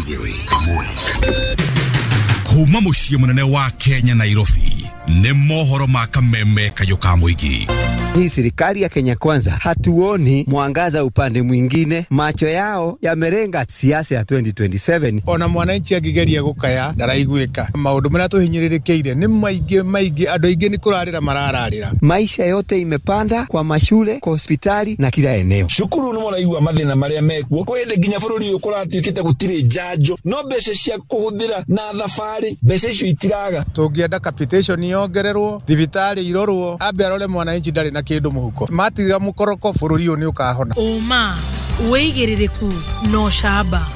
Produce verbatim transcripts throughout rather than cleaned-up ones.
Igĩrĩ ĩmwe. Kuma mũciĩ mũnene wa Kenya Nairobi nĩ mohoro ma kameme kayũ ka mũingĩ. Hii serikali ya Kenya Kwanza hatuoni mwangaza upande mwingine, macho yao yamerenga siasa ya twenty twenty-seven. Ona mwananchi akigeria gukaya ndaraiguika. Maundu maria tuhinyiririkiire ni maingi maingi, andu aingi ni kurarira marararira. Maisha yote imepanda kwa mashule, kwa hospitali na kila eneo. Shukuru ni muraigua mathina maria mekuo kwa hindi nginya bururi uyu kuratuikite gutiri njanjo no mbeca cia kuhuthira na thabari mbeca icio itiraga. Tungienda capitation yongererwo, thibitari irorwo, ambe arore mwananchi ndari na kindu muhuko. Matiga mukoroko bururi uyu ni ukahona. Uma wigiririku no shaba.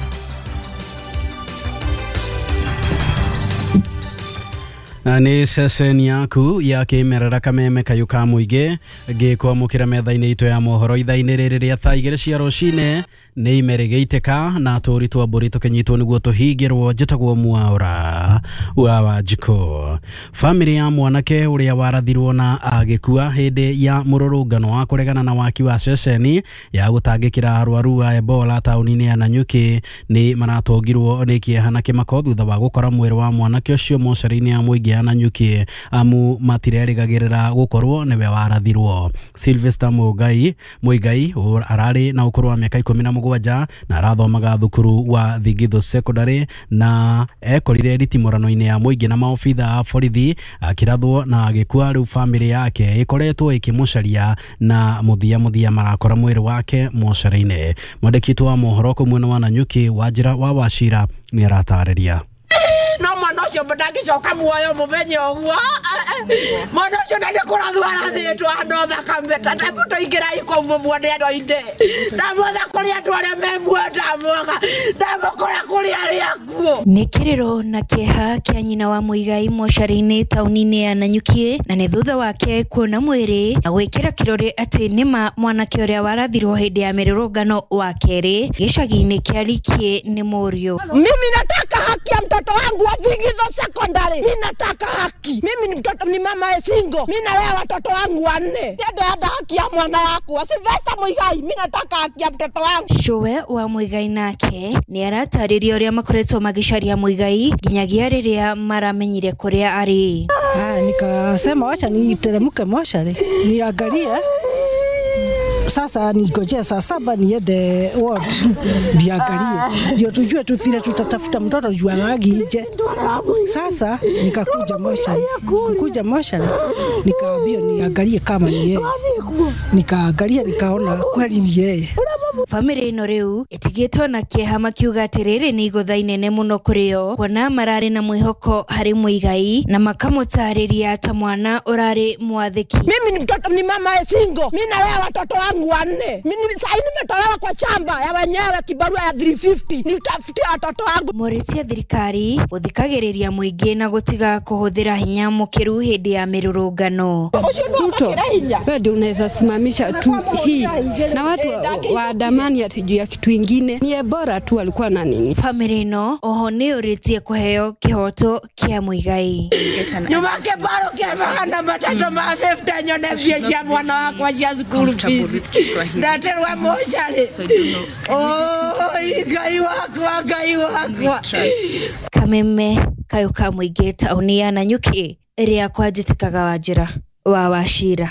Nĩ ceceni yaku ya kĩmerera kameme kayũ ka mũingĩ ngĩkwamũkĩra metha-inĩ itũ ya mohoro ithaa-inĩ rĩrĩ rĩa thaa igĩrĩ cia rũcinĩ nĩ ime rĩgĩitĩka na tũũri twa mbũri tũkĩnyitwo nĩguo tũhingĩrwo. Njĩtagwo Mwaũra wa Wanjikũ. Bamĩrĩ ya mwanake ũrĩa warathirwo na agĩkua hĩndĩ ya mũrũrũngano wa kũregana na waki wa ceceni ya gũtangĩkĩra arwaru a Ebola taũni-inĩ ya Nanyuki nĩ maratongirwo nĩ kĩeha na kĩmako thutha wa gũkora mwĩrĩ wa mwanake ũcio mocarĩ-inĩ ya mũingĩ ya Nanyuki amu matirerĩgagĩrĩra gũkorwo nĩwe warathirwo. Sylvester Muigai Muigai ararĩ na ũkũrũ wa mĩaka ikũmi na mũgwanja na arathomaga thukuru wa Thigitho Secondary na ekorire ritimũrano-inĩ ya mũingĩ na maobitha a borithi akĩrathwo na agĩkua. Rĩu bamĩrĩ yake ĩkoretwo ĩkĩmũcaria na mũthia mũthia marakora mwĩrĩ wake mocarĩ-inĩ. Mwandĩki witũ wa mohoro kũu mwena wa Nanyuki Wanjĩra wa Wachira nĩ aratarĩria. No mwana ũcio ndangĩcoka muoyo mũmenye ũguo. Mwana ũcio na nĩ kũrathwo arathĩtwo no thakame ta tũingĩrai kũu mũmuone andũ aingĩ. Ndamwetha kũrĩ andũ arĩa me muoyo, ndamwaga ndamũkora kũrĩ arĩa akuũ. Nĩ kĩrĩro na kĩeha kĩa nyina wa Muigai mocarĩ-inĩ taũni-inĩ ya Nanyuki na nĩ thutha wake kuona mwĩrĩ na gwĩkĩra kĩrore atĩ nĩma mwanake ũrĩa warathirwo hĩndĩ ya mĩrũrũngano wa kerĩ gĩcagi-inĩ kĩa Rikie nĩ mũriũ. Mimi nataka haki ya mtoto wangu wa Thigitho Secondary. Mimi nataka haki. Mimi ni mtoto, ni mama single. Mimi nalea watoto wangu wanne. Ndio haki ya mwana wako Sylvester Muigai. Mimi nataka haki ya mtoto wangu. Cũwe wa Muigai nake nĩ aratarĩria ũrĩa makoretwo magĩcaria Muigai nginyagia rĩrĩa maramenyire kũrĩa arĩ. Ah, nikasema wacha niteremke mocarĩ niangalie. Sasa ningojea saa saba niende ward ndiangalie ndio tujue tu vile tutatafuta mtoto juu alagi nje. Sasa nikakuja moshari, kuja moshari nikaambia niangalie kama ni yeye. Nikaangalia nikaona kweli ni yeye. Famĩlĩ ĩno rĩu ĩtigĩtwo na kĩeha makiuga atĩ rĩrĩ nĩ igũtha inene mũno kũrĩ o kuona mararĩ na mwĩhoko harĩ Muigai na makamũtarĩria ta mwana ũrarĩ mwathĩki. Mimi ni mtoto, ni mama single. Mimi nalea watoto wangu wanne. Mimi sasa nimetolewa kwa shamba ya wenyewe kibarua ya three fifty. Nitafutia watoto wangu. Morĩtie thirikari gũthikagĩrĩria mũingĩ na gũtiga kũhũthĩra hinya mũkĩru hĩndĩ ya mĩrũrũngano. Ruto, wewe ndio unaweza simamisha tu hii na watu waandamani ati juu ya kitu ingine. Ni bora tu alikuwa na nini. Famĩlĩ ĩno oho nĩ ũrĩtie kũheo kĩhoto kĩa Muigai. Nyuma kĩbaro kĩa magana matatũ ma fifty nyone mbia cia mwana wakwa cia school fees. Ndaterwa mocarĩ. Oh, Ngai wakwa, Ngai wakwa. Kameme kayũ ka mũingĩ taũni ya Nanyuki ĩrĩa kwanjĩtĩkaga Wanjĩra wa Wachira.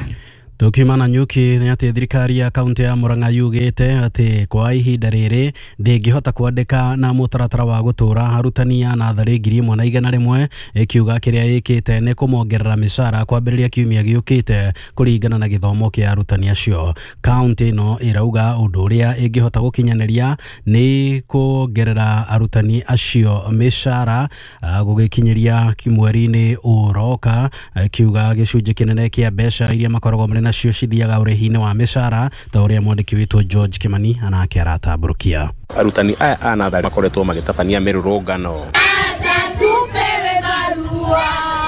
Tukiuma Nanyuki nĩ atĩ thirikari ya kaunti ya Murang'a yugĩte atĩ kwa ihinda rĩrĩ ndĩngĩhota kwandĩka na mũtaratara wa gũtũra arutani a natharĩ ngiri ĩmwe na igana rĩmwe, ĩkiuga kĩrĩa ĩkĩte nĩ kũmongerera mĩcara kwambĩrĩria kiumia gĩũkĩte kũringana na gĩthomo kĩa arutani acio. Kaunti ĩno ĩrauga ũndũ ũrĩa ĩngĩhota gũkinyanĩria nĩ kuongerera arutani acio mĩcara gũgĩkinyĩria mweri-inĩ ũroka, ĩkiuga gĩcunjĩ kĩnene kĩa mbeca iria makoragwo marĩ nacio cithiaga ũrĩhi-inĩ wa mĩcara ta ũrĩa mwandĩki witũ George Kimani anake aratambũrũkia. Arutani aya a natharĩ makoretwo magĩtabania mĩrũrũngano.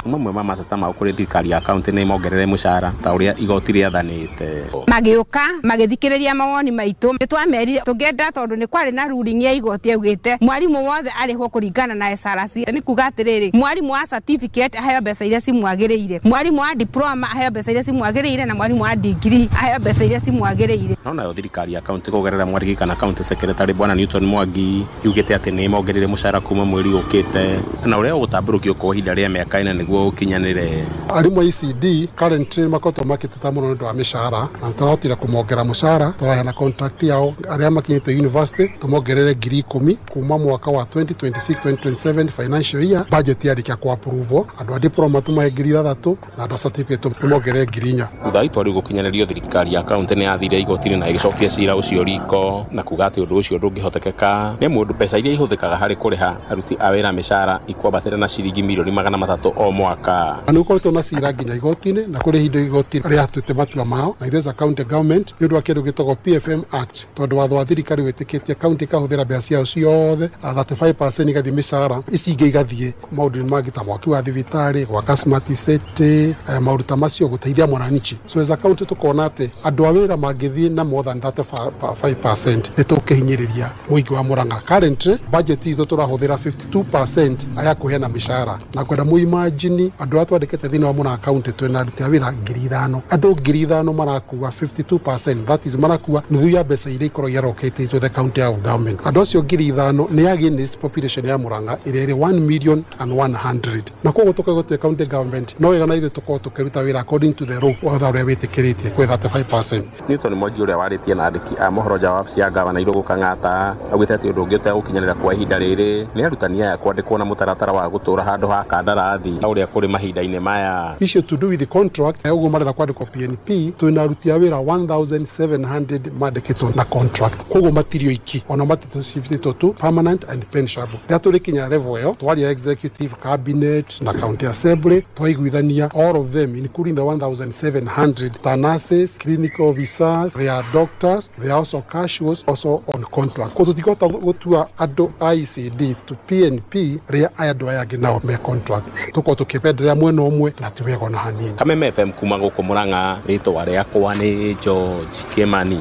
Mamwe ma mateta mao kũrĩ thirikari ya kaunti nĩ mongerere mũcara ta ũrĩa igoti rĩathanĩte. Magĩũka magĩthikĩrĩria mawoni maitũ, nĩ twamerire tũngĩenda tondũ nĩ kwarĩ na ruling ya igoti yaugĩte mwarimũ wothe arĩhwo kũringana na S R C. Nĩ kuga atĩrĩrĩ, mwarimũ wa certificate aheo mbeca iria cimwagĩrĩire, mwarimũ wa diploma aheo mbeca iria cimwagĩrĩire, na mwarimũ wa degree aheo mbeca iria cimwagĩrĩire. No nayo thirikari ya kaunti kũgerera mwarigi kana county secretary bwana Newton Mwangi yugĩte atĩ nĩ mongerere mũcara kuma mweri ũkĩte na ũrĩa ũgũtambũrũkio kwa ihinda rĩa mĩaka ĩna nĩguo ũkinyanĩre. Arimũ a E C D currently makoretwo makĩteta mũno nĩ ũndũ wa mĩcara na nĩtũrahotire kũmongera mũcara, tũraheana contract yao arĩa makinyĩte university tũmongerere ngiri ikũmi kuma mwaka wa twenty twenty-six twenty twenty-seven financial year budget yarĩkia ku approve andũ a diploma tũmahe ngiri ithathatũ na andũ a certificate tũmongerere ngiri inya. Thutha wa itua rĩu gũkinyanĩrio, thirikari ya kaunti nĩ yathire igoti-inĩ na ĩgĩcokia cira ũcio riko na kuga atĩ ũndũ ũcio ndũngĩhotekeka nĩ mũndũ mbeca iria ihũthĩkaga harĩ kũrĩha aruti a wĩra mĩcara ikwambatĩra na ciringi mirioni magana matatũ o mwaka. Na nĩ gũkoretwo na cira nginya igoti-inĩ na kũrĩ ihinda igoti rĩatuĩte matua mao na ithuĩ as a county government nĩ ũndũ wa kĩndũ gĩtagwo P F M Act tondũ watho wa thirikari wĩtĩkĩtie county ĩkahũthĩra mbeca ciayo ciothe thirty-five percent igathiĩ mĩcara, ici ingĩ igathiĩ maũndũ-inĩ mangĩ ta mwaki wa thibitarĩ, gwaka smart city, maũndũ ta macio gũteithia mwananchi. So as a county tũkona atĩ andũ a wĩra mangĩthiĩ na more than thirty-five percent nĩ tũkĩhinyĩrĩria mũingĩ wa Murang'a. Currently budget itũ tũrahũthĩra fifty-two percent aya kũheana mĩcara na kwenda mũimagine andũ arĩa twandĩkĩte thĩinĩ wa Murang'a county twĩna aruti a wĩra ngiri ithano, andũ ngiri ithano marakua fifty-two percent, that is marakua nuthu ya mbeca iria ikoragwo allocated to the county of government. Andũ acio ngiri ithano nĩ against population ya Murang'a ĩrĩa ĩrĩ one million and one hundred, na koguo tũkoragwo twĩ county government no wega na ithuĩ tũkorwo tũkĩruta wĩra according to the law watho ũrĩa wĩtĩkĩrĩtie kwĩ thirty-five percent. Newton Mwangi ũrĩa warĩtie na andĩki a mohoro nja wa wabici ya gavana Irũngũ Kang'ata augĩte atĩ ũndũ ũngĩ ũtegũkinyanĩra kwa ihinda rĩrĩ nĩ arutani aya kwandĩkwo na mũtaratara wa gũtũra handũ ha kandarathi ta ũrĩa kũrĩ mahinda-inĩ maya. Issue to do with the contract ũguo marenda kwandĩkwo P N P twĩna aruti a wĩra one thousand seven hundred mandĩkĩtwo na contract, koguo matirio iki ona matitũ tu permanent and pensionable. Rĩrĩa tũrĩkinya level ĩyo twaria executive cabinet na county assembly twaiguithania all of them including the one thousand seven hundred ta nurses, clinical officers, they are doctors, they are also casuals, also on contract. Koguo tũtingĩhota gũtua andũ a E C D to P N P rĩrĩa aya andũ aya angĩ nao me contract, tũkorwo tũkĩpenderea mwena ũmwe na ti wega ona hanini. Kameme F M kuma gũkũ Murang'a, rĩtwa rĩakwa nĩ George Kimani.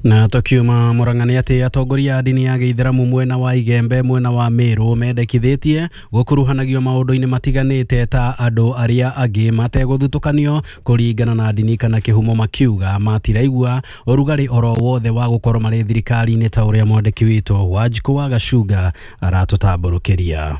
Na tukiuma Murang'a nĩ atĩ atongoria a ndini ya gĩithĩramu mwena wa Igembe mwena wa Meru mendekithĩtie gũkuruhanagio maũndũ-inĩ matiganĩte ta andũ arĩa angĩ mategũthutũkanio kũringana na ndini kana kĩhumo, makiuga matiraigua ũrugarĩ oro wothe wa gũkorwo marĩ thirikari-inĩ ta ũrĩa mwandĩki witũ Wanjikũ wa Gacunga aratũtambũrũkĩria.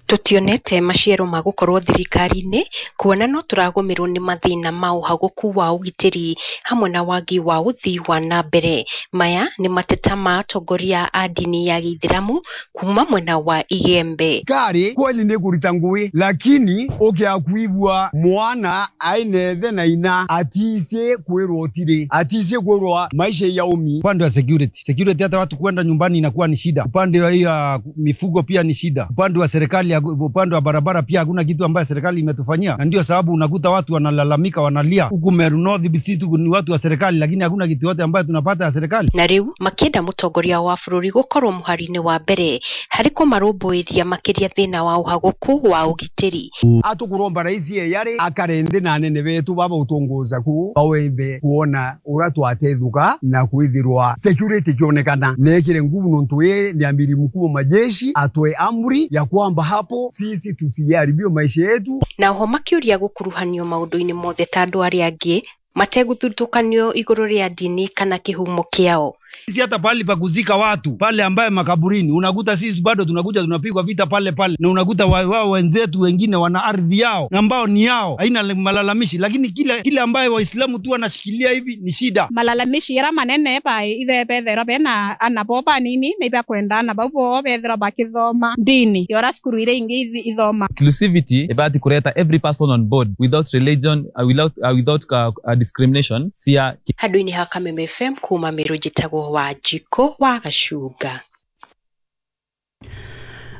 Tutionete maciaro ma gukorwo thirikari-inĩ kuona no tũragũmĩrwo nĩ mathĩna ma ũhagũku wa ũgitĩri hamwe na wagi wa ũthii wa na mbere. Maya nĩ mateta ma atongoria a ndini ya gĩithĩramu kuma mwena wa Igembe. Kari kweli nĩ kũruta ngũĩ, lakini ũkĩakuibua mwana ainethe na ina atise kwĩrwo tire atise kwĩrwo maisha ya umi. Upande wa security, security hata watu kwenda nyumbani inakuwa ni shida. Upande wa hiyo mifugo pia ni shida. Upande wa serikali, upande wa barabara pia hakuna kitu ambaye serikali imetufanyia, na ndio sababu unakuta watu wanalalamika, wanalia huku Meru North B C tu ni watu wa serikali, lakini hakuna kitu yote ambayo tunapata ya serikali. Na riu makienda mutongoria wa bururi gukorwo muhari-inĩ wa mbere harĩ kũmarũmbũiria makĩria thĩna wa ũhagũku wa ũgitĩri. Atukuromba raisi yare akarende na anene betu baba utongoza ku bawembe kuona ura twatethuka na kwithirwa security kionekana nekire nguvu nontu ye ni amiri mkuu wa majeshi atoe amri ya kwamba hapo sisi tusiharibio maisha yetu. Na oho makiuria gukuruhanio maundu-inĩ mothe ta andu aria angi mategũthutũkanio igũrũ rĩa ndini kana kĩhumo kĩao. Sisi hata pale pa kuzika watu pale ambaye makaburini unakuta sisi bado tunakuja tunapigwa vita pale pale, na unakuta wao wenzetu wengine wana ardhi yao ambao ni yao, haina malalamishi, lakini kile kile ambaye Waislamu tu wanashikilia hivi ni shida. Malalamishi yara manene pa ithe bethera bena anaboba nini na kwenda na babo bethera bakithoma ndini yora skuru ile ingi ithoma. Inclusivity ibati kuleta every person on board without religion, uh, without uh, without uh, uh, discrimination sia handu-inĩ ha Kameme F M kuma Meru njĩtagwo Wanjikũ wa Gacunga.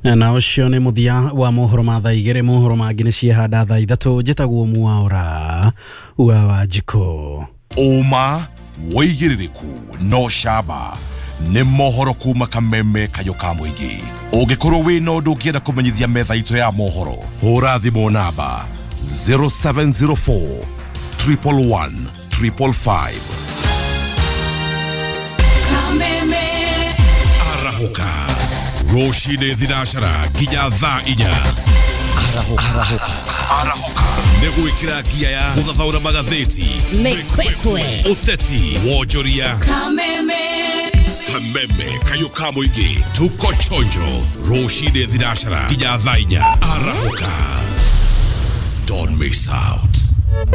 Na ũcio nĩ mũthia wa mohoro ma thaa igĩrĩ. Mohoro mangĩ nĩ ciehanda thaa ithatũ. Njĩtagwo Mwaura wa Wanjikũ. Ũma wĩigĩrĩrĩku no camba Nĩ mohoro kuma Kameme Kayũ ka Mũingĩ. Ũngĩkorwo wĩna ũndũ ũngĩenda kũmenyithia metha itũ ya mohoro, hũra thimũ namba zero seven zero four triple one triple five. Arahũka rũcinĩ thinacara nginya thaa inya. Arahũka. Arahũka nĩ gwĩkĩra ngia ya gũthathaũra magathĩti, mĩkwekwe, ũteti, wonjoria. Kameme. Kameme Kayũ ka Mũingĩ, tuko chonjo rũcinĩ thinacara nginya thaa inya. Arahũka, don't miss out.